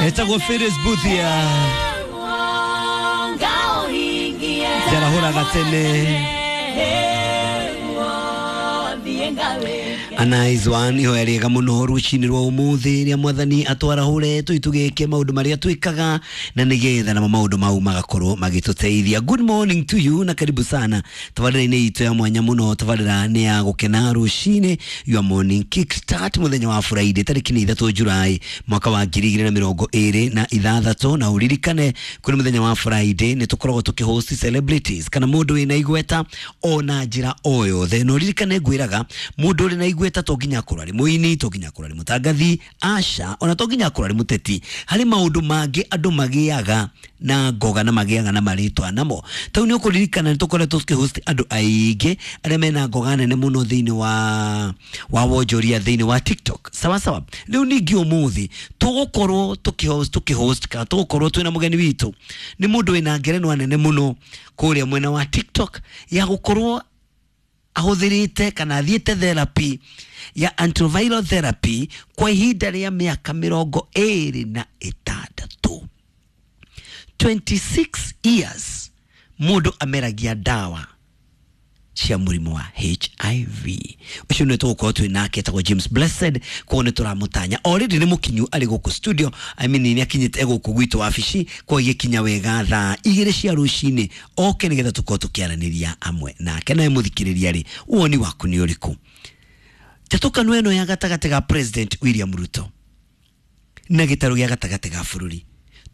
Etagwo Phyllis Buthia njarahũraga tene. A nice one, ihoya rĩega mũno rũcinĩ rwa ũmũthĩ rĩa mwathani atwarahũre tũitũgĩke maũndũ marĩa twĩkaga na nĩgetha namo maũndũ mau magakorwo magĩtũteithia. Good morning to you na karibu sana tabarĩra-inĩ itũ ya mwanya mũno. Tabarĩra nĩ ya gũkena rũcinĩ, your morning kick start, mũthenya wa Friday tarĩki nĩ 3 Julai mwaka wa 2026. Na ũririkane kũrĩ mũthenya wa Friday nĩ tũkoragwo tũkĩhost celebrities kana mũndũ wĩna igweta ona njĩra o yothe. Na ũririkane ngwĩraga mũndũ ũrĩ na igweta to nginya akorwo arĩ mũini, to nginya akorwo arĩ mũtangathi, aca, ona to nginya akorwo arĩ mũteti. Harĩ maũndũ mangĩ andũ magĩaga na ngoga na magĩaga na marĩtwa namo. Tau nĩ ũkũririkana nĩ tũkoretwo tũkĩhost andũ aingĩ arĩa mena ngoga nene mũno thĩinĩ wa wonjoria thĩinĩ wa TikTok. Sawa sawa. Rĩu ningĩ ũmũthĩ tũgũkorwo tũkĩhost kana tũgũkorwo twĩna mũgeni witũ nĩ mũndũ wĩna ngerenwa nene mũno kũrĩa mwena wa TikTok ya gũkorwo ahũthĩrĩte kana athiĩte therapy ya antiviral therapy kwa ihinda rĩa mĩaka 26, 26 years mũndũ ameragia ndawa cia mũrimũ wa HIV. Ũcio nĩ tũgũkorwo twĩ nake, etagwo James Blessed. Koguo nĩ tũramũtanya already nĩ mũkinyu arĩ gũkũ studio, I mean nĩ akinyĩte gũkũ gwitũ wabici, koguo agĩkinya wega thaa 2 cia rũcinĩ oke nĩgetha tũkorwo tũkĩaranĩria amwe nake. Nawe mũthikĩrĩria rĩ, woni waku nĩ ũrĩkũ? Njatũkano ĩno ya gatagatĩ ga President William Ruto na gĩtarũ gĩa gatagatĩ ga bũrũri,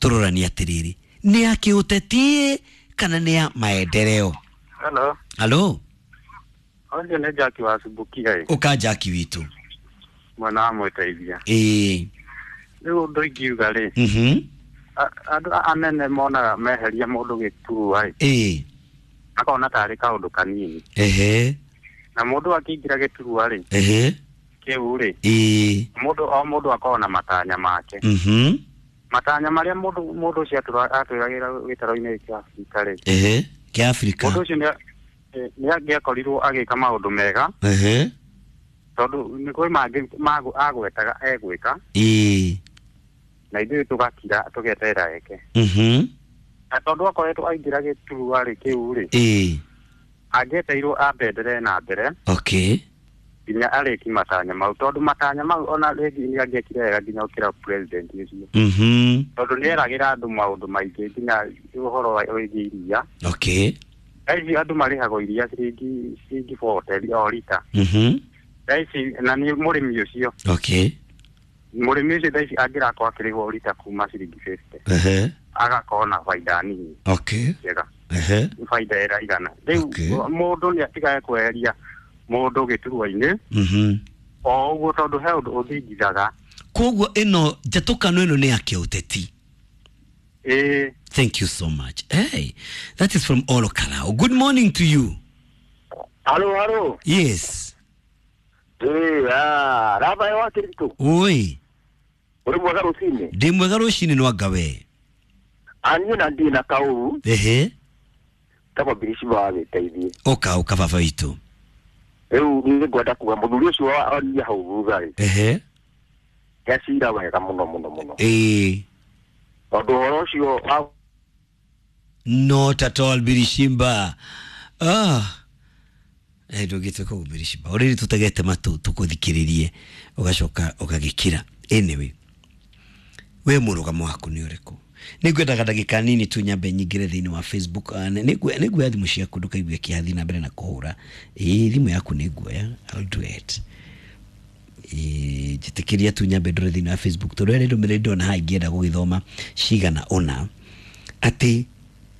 tũroranie atĩrĩrĩ, nĩ ya kĩũteti kana nĩ ya maendeleo? Hello. Halo. Ũcio nĩ Jackie wa Subukia ĩ. Ũka Jackie witũ. Mwena wa Mwĩteithia. Ĩĩ. Rĩu ũndũ ingiuga rĩ. Andũ anene monaga meheria mũndũ gĩturwa ĩ. Ĩĩ. Akona tarĩ kaũndũ kanini. Ehe. Na mũndũ akĩingĩra gĩturwa rĩ. Ehe. Kĩu rĩ. Ĩĩ. Mũndũ o mũndũ akoragwo na matanya make. Matanya marĩa mũndũ ũcio atwĩragĩra gĩtaro-inĩ kĩa Afrika rĩ. Ehe. Kĩa Afrika. Mũndũ ũcio nĩ angĩakorirwo agĩka maũndũ mega. Ehe. Tondũ nĩ kwĩ mangĩ agwetaga egwĩka. Ĩĩ. Na ithuĩ tũgakira tũgeterera eke. Na tondũ akoretwo aingĩra gĩturwa rĩ kĩu rĩ. Ĩĩ. Angĩeteirwo ambenderee na mbere. Okay. Nginya arĩki matanya mau, tondũ matanya mau ona rĩngĩ nĩ angĩekire wega nginya gũkĩra president ũcio. Tondũ nĩ eragĩra andũ maũndũ maingĩ nginya ũhoro wĩgiĩ iria. Okay. Thaa ici andũ marĩhagwo iria ciringi 40 o rita. Thaa ici na nĩ mũrĩmi ũcio. Okay. Mũrĩmi ũcio thaa ici angĩrakorwo akĩrĩhwo rita kuma ciringi 50. Ehe. Agakorwo na baida nini. Okay. Njega. Ehe. Baida ĩraigana. Rĩu mũndũ nĩ atigage kweheria mũndũ gĩturwa-inĩ. O ũguo tondũ he ũndũ ũthingithaga. Koguo ĩno njatũkano ĩno nĩ ya kĩũteti. Ĩĩ. Thank you so much. Hey, that is from Olo Kalao. Good morning to you. Hello, hello. Yes. Hey, Raba wa Kirito. Oi. Uri mwega rũcinĩ? Ndĩ mwega rũcinĩ nwa we. Aniĩ na ndĩ na kaũru. Ehe. Tagwo Birici wa Gĩteithie. Ũka ũka baba witũ. Rĩu nĩ ngwenda kuga mũthuri ũcio wa hau thutha rĩ. Ehe. Nĩacira wega mũno mũno mũno. Ĩĩ. Tondũ ũhoro ũcio wa Not at all, Birishimba. Ah. Ndũngĩtuĩka ũguo Birishimba. Already tũtegete matũ tũkũthikĩrĩrie ũgacoka ũgagĩkira. Anyway, we mũrũgamo waku nĩ ũrĩkũ? Nĩngwendaga ndagĩka nini tu nyambe nyingĩre thĩinĩ wa Facebook. Nĩnguoya thimũ ciaku ndũkaigue kĩathi na mbere na kũhũra. Ĩĩ, thimũ yaku nĩnguoya. I'll do it. Njĩtĩkĩria tu nyambe ndore thĩinĩ wa Facebook tondũ harĩ ndũmĩrĩri ndona haha ingĩenda gũgĩthoma cigana ũna atĩ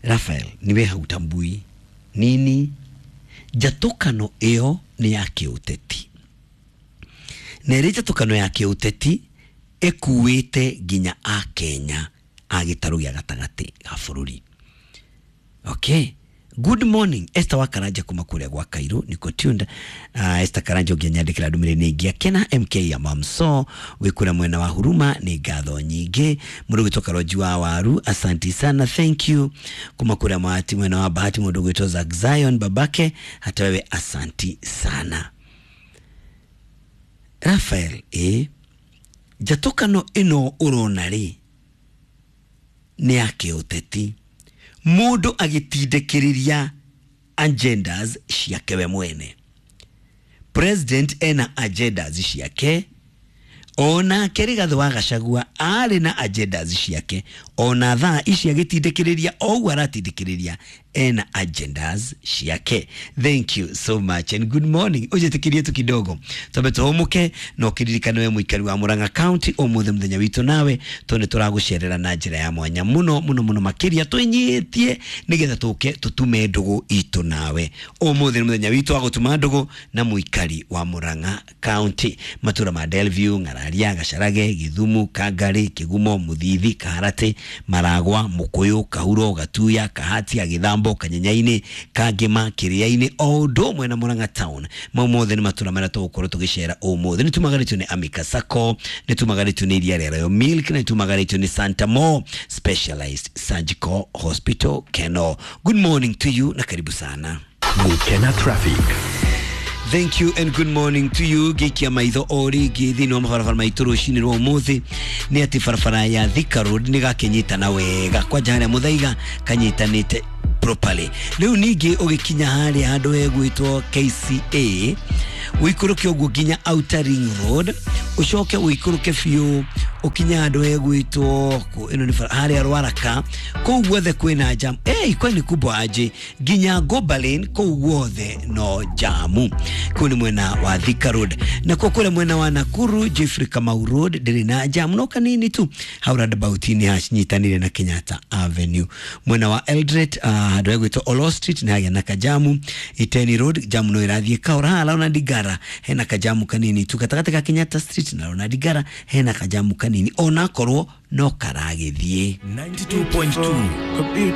Raphael niwe hautambui nini njatũkano ĩyo nĩ ya kĩũteti na ĩrĩ njatũkano ya kĩũteti ĩkuĩte nginya Akenya a gĩtarũ gĩa gatagatĩ ga bũrũri. Okay. Good morning Esther wa Karanja kuma kũrĩa gwa Cairo niko tuned. Esther Karanja ũngĩnyandĩkĩra ndũmĩrĩri nĩ ingĩakena. MK ya Mamso wĩ kũrĩa mwena wa Huruma nĩ ngatho nyingĩ. Mũndũ ũgwĩtwo Karonji wa Waru, asanti sana, thank you. Kuma kũrĩa Mahati mwena wa Bahati mũndũ ũgwĩtwo Zack Zion babake, hata wewe asanti sana. Raphael, njatũkano ĩno ũrona rĩ Nĩ ya kĩũteti, mũndũ agĩtindĩkĩrĩria agendas ciake we mwene. President ena agendas ciake, onake Rigathĩ wa Gachagua arĩ na agendas ciake, ona thaa ici agĩtindĩkĩrĩria o ũguo aratindĩkĩrĩria ena agendas ciake. Thank you so much and good morning. Ũnjĩtĩkĩrie tu kidogo twambe tũhũmũke, na ũkĩririkane we mũikari wa Murang'a County, ũmũthĩ mũthenya witũ nawe, tondũ nĩ tũragũcerera na njĩra ya mwanya mũno mũno mũno makĩria, twĩnyihĩtie nĩgetha tũke tũtume ndũgũ itũ nawe. Ũmũthĩ nĩ mũthenya witũ wa gũtuma ndũgũ na mũikari wa Murang'a County, matũra ma Delview, Ng'araria, Gacharage, Githumu, Kangari, Kigumo, Muthithi, Kaharati, Maragwa, Mukuyu, Kahuro, Gatuya, Kahatia, Githambo, Kanyenyaini, Kangema, Kiriaini, o ũndũ ũmwe na Murang'a Town. Mau mothe nĩ matũra marĩa tũgũkorwo tũgĩcera ũmũthĩ. Nĩ tumagarĩtio nĩ Amika Sacco, nĩ tumagarĩtio nĩ iria rĩa Royal Milk, na nĩ tumagarĩtio nĩ Santa Mo Specialized Surgical Hospital Keno. Good morning to you na karibu sana. Gukena Traffic. Thank you and good morning to you. Ngĩikia maitho o rĩngĩ thĩinĩ wa mabarabara maitũ rũcinĩ rwa ũmũthĩ, nĩ atĩ barabara ya Thika Road nĩ gakĩnyitana wega, kwanja harĩa Mũthaiga kanyitanĩte properly. Rĩu ningĩ ũgĩkinya harĩa handũ hegwĩtwo KCA, ũikũrũke ũguo nginya Outer Ring Road, ũcoke ũikũrũke biũ ũkinye handũ hegwĩtwo ĩno nĩ bara harĩa Rwaraka, kũu guothe kwĩna jam. Hey, kwani kubwa aje nginya Gobalin, kũu guothe no jamu. Kũu nĩ mwena wa Thika Road. Nakuo kũrĩa mwena wa Nakuru, Jeffrey Kamau Road ndĩrĩ na jamu no kanini tu, hau roundabout-inĩ hacinyitanĩire na Kenyatta Avenue. Mwena wa Eldoret, handũ hegwĩtwo Olo Street nĩ hagĩa na kajamu. Iteni Road jamu no ĩrathiĩ kahora. Haha Ronald Ngara hena kajamu kanini tu, gatagatĩ ka Kenyatta Street na Ronald Ngara hena kajamu kanini, onakorwo no karagĩthiĩ. 92.2.